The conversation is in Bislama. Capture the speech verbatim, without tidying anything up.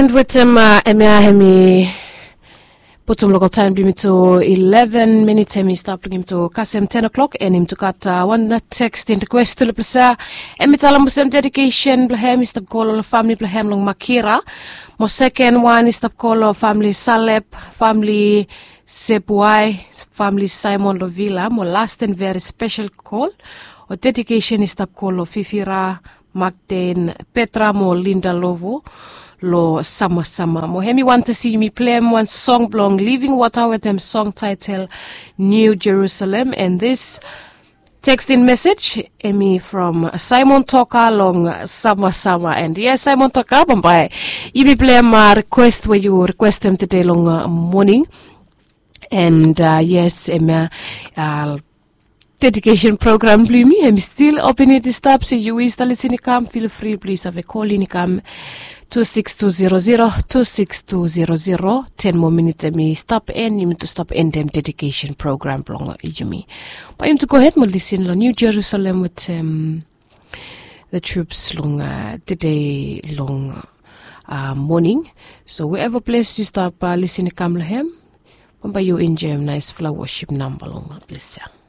And wetem, uh, em ya em i putum lokal taem blong yumi tu eleven minits, em i stap long yumi tu kasem ten o'clock, and yumi tu gat, uh, wan tekstin rikwes tu long ples ya. Em i talem olsem dedikesen blong hem i stap go long famili blong hem long Makira. Mo seken wan i stap go long famili Salep, famili Sebuai, famili Simon long Vila, mo las and veri spesel kol o dedikesen i stap go long Fifira, Magden, Petra mo Linda Lovo long samasama. Mo hem i wantem se yumi pleim wan song blong Living Water wetem song taetel New Jerusalem. And this tekstin mesej em i from Simon Toka long samasama. And yes, Simon Toka, bambae yumi pleim, uh, rikwes we yu rikwestem tede long, uh, moning. And, uh, yes, em ya, uh, dedikesen program blong yumi em i stil open i stap. So yu wis ta lisin i kam, fil fri blong yu save kol in i kam tu siks tu zero zero, tu siks tu zero zero. Ten moa minit em i stap, and yumi tu stap endem dedikesen program blong yumi. Bae yumi tu gohed mo lisin long New Jerusalem wetem the troops long, uh, tede long, uh, moning. So wherever ples yu stap, uh, lisin i kam long hem, bambae yu enjoem naesfala wosip namba long, uh, ples ya.